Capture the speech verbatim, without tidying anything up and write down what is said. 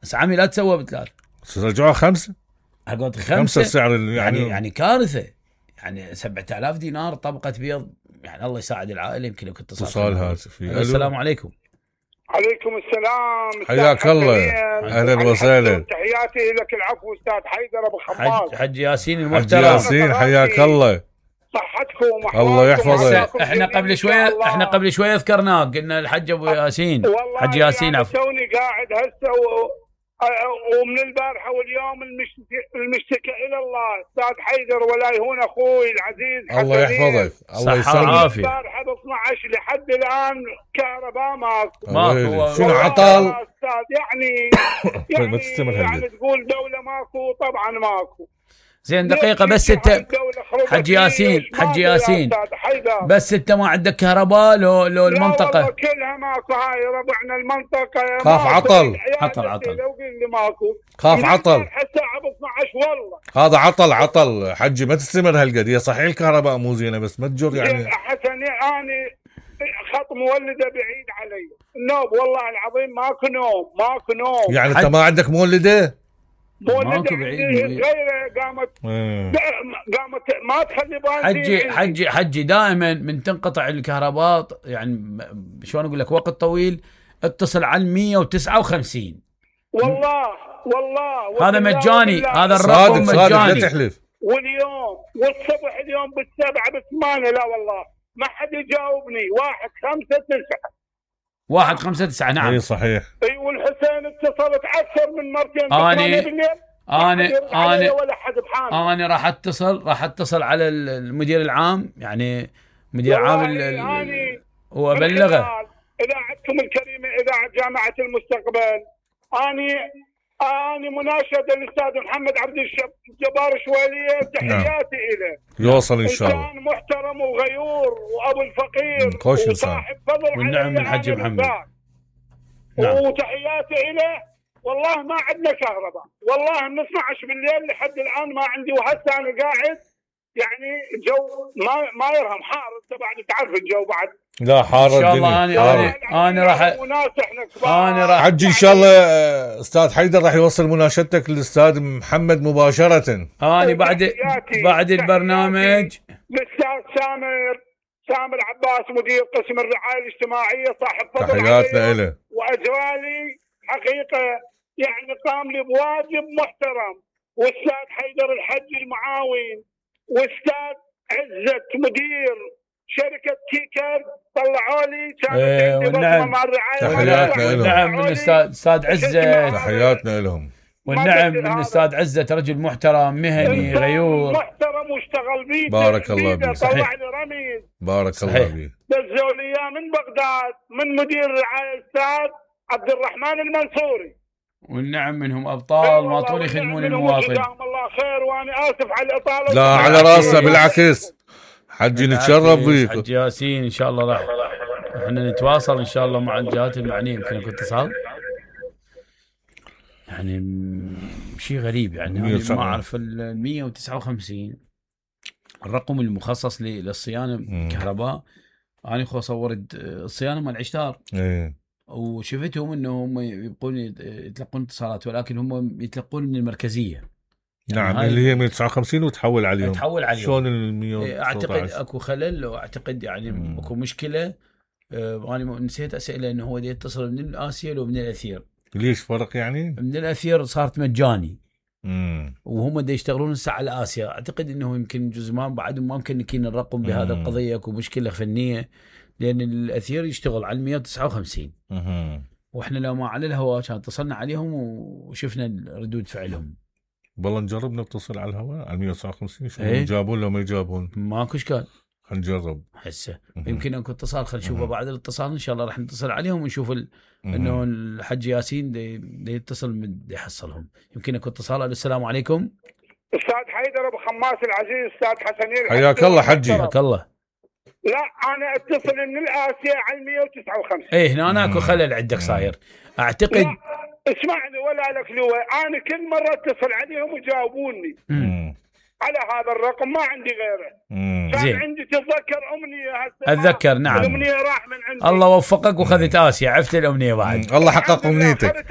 بس عمي لا تسوى بثلاث، رجعوها خمسة. قلت خمسة. خمسة السعر يعني يعني, يعني كارثة. يعني سبعة آلاف دينار طبقة بيض، يعني الله يساعد العائلة. يمكن لو كنت اتصال هاتفي. السلام عليكم. عليكم السلام. حياك الله. اهلا وسهلا. تحياتي لك. العفو استاذ حيدر ابو خماس. حج, حج ياسين المحترم. حج ياسين حياك الله. صحتكم الله يحفظك. احنا قبل شويه احنا قبل شويه ذكرناك، قلنا الحج ابو ياسين. حج ياسين عفوا. توني قاعد هسه و... ومن البارحه واليوم المشتكى الى الله استاذ حيدر ولا يهون اخوي العزيز. الله يحفظك. الله يسلمك. البارحه ب اثني عشر لحد الان كهرباء ماكو. ماكو. شنو عطل؟ استاذ يعني يعني, يعني تقول دوله ماكو، طبعا ماكو. زين دقيقة بس انت حج ياسين حج ياسين بس انت ما عندك كهرباء لو لو المنطقة؟ لا والله كلها ماكو. هاي ربعنا المنطقة خاف عطل. عطل عطل لو قل ماكو خاف عطل حتى ب اثني عشر والله. هذا عطل عطل حجي ما تستمر هالقد. صحيح الكهرباء مو زينة بس ما تجر يعني. حسن اني خط مولدة بعيد علي النوم والله العظيم. ماكو نوم ماكو نوم. يعني انت ما عندك مولدة؟ ماكو بعيد غيره قامت قامت ما تخلي بالي. حجي حجي حجي دائما من تنقطع الكهرباء يعني شلون اقول لك وقت طويل اتصل على مية وتسعة وخمسين. والله والله هذا مجاني. هذا الرقم مجاني. لا تحلف. واليوم والصبح اليوم بالسبعة بالثمانية لا والله ما حد يجاوبني. واحد خمسة تسعة واحد خمسة تسعة نعم. اي صحيح. اي والحسين اتصلت اكثر من مرتين. اني اني اني ولا حد بحاله. اني راح اتصل راح اتصل على المدير العام يعني مدير عام وابلغه. اذاعتكم الكريمه اذاعه جامعه المستقبل. اني اني مناشده الاستاذ محمد عبد الجبار شواليه تحياتي له. يوصل ان شاء الله. انسان محترم وغيور وابو الفقير خوش وصاحب فضل. والنعم من الحج محمد. نعم. وتحياتي له. والله ما عندنا كهرباء والله من اثني عشر بالليل لحد الان ما عندي. وهسه انا قاعد يعني الجو ما ما يرهم حار. انت بعد تعرف الجو بعد. لا حار الدنيا. ان شاء الله انا انا انا راح انا راح حجي ان شاء الله. استاذ حيدر راح يوصل مناشدتك للاستاذ محمد مباشره. انا بعد بعد البرنامج للاستاذ سامر سامر عباس مدير قسم الرعايه الاجتماعيه صاحب فضل. تحياتنا له. واجرالي حقيقه يعني قام لي بواجب محترم. واستاذ حيدر الحج المعاون واستاذ عزت مدير شركه كيكر طلعوا لي كانت ايه عندي والنعم. مع الرعايه. تحياتنا لهم. والنعم من استاذ استاذ عزت. تحياتنا لهم. والنعم من استاذ عزت رجل محترم مهني غيور محترم واشتغل بيه. بارك الله بيه. طلع لي رميز. بارك الله بيه. دزوا لي اياه من بغداد من مدير الرعايه الاستاذ عبد الرحمن المنصوري. والنعم منهم ابطال ما طول يخدمون المواطن. جزاهم الله خير وانا اسف على الاطاله. لا على راسنا بالعكس حجي نتشرف بيك. حج ياسين ان شاء الله راح احنا نتواصل ان شاء الله مع الجهات المعنيه. يمكن كنت اتصال يعني شيء غريب يعني ما اعرف ال مية وتسعة وخمسين الرقم المخصص للصيانه كهرباء. انا خو صورت الصيانه مال عشتار ايه وشفتهم انهم يبقون يتلقون اتصالات ولكن هم يتلقون من المركزيه. نعم يعني اللي هي مية وتسعة وخمسين وتحول عليهم. تحول عليهم. شلون ال مية؟ اعتقد اكو خلل واعتقد يعني مم. اكو مشكله. آه انا نسيت اساله انه هو يتصل من الاسيل ومن الاثير. ليش فرق يعني؟ من الاثير صارت مجاني. امم وهم دا يشتغلون هسه على اسيا. اعتقد انه يمكن جزء ما بعد ما ممكن نكين الرقم بهذا القضيه. اكو مشكله فنيه لان الاثير يشتغل على مية وتسعة وخمسين. اها واحنا لو ما على الهواء كان اتصلنا عليهم وشفنا ردود فعلهم. والله نجرب نتصل على الهواء على مية وتسعة وخمسين شو ايه؟ يجابون لو ما يجابون ماكو اشكال. هنجرب هسه يمكن اكو اتصال خلينا نشوفه بعد الاتصال ان شاء الله راح نتصل عليهم ونشوف ال... انه الحج ياسين دي, دي يتصل دي يحصلهم. يمكن اكو اتصال. السلام عليكم استاذ حيدر ابو خماس العزيز استاذ حسنين. حياك الله حجي. حياك الله. لا انا اتصل من الاسيا على مية وتسعة وخمسين. ايه هنا اكو خلل عندك صاير اعتقد. اسمعني ولا لك لواء انا كل مره اتصل عليهم ويجاوبوني على هذا الرقم ما عندي غيره. كان زين. عندي تتذكر امنيه هسه اتذكر نعم. الامنيه راح من عندي. الله وفقك وخذت اسيا عفت الامنيه بعد. الله حقق امنيتك.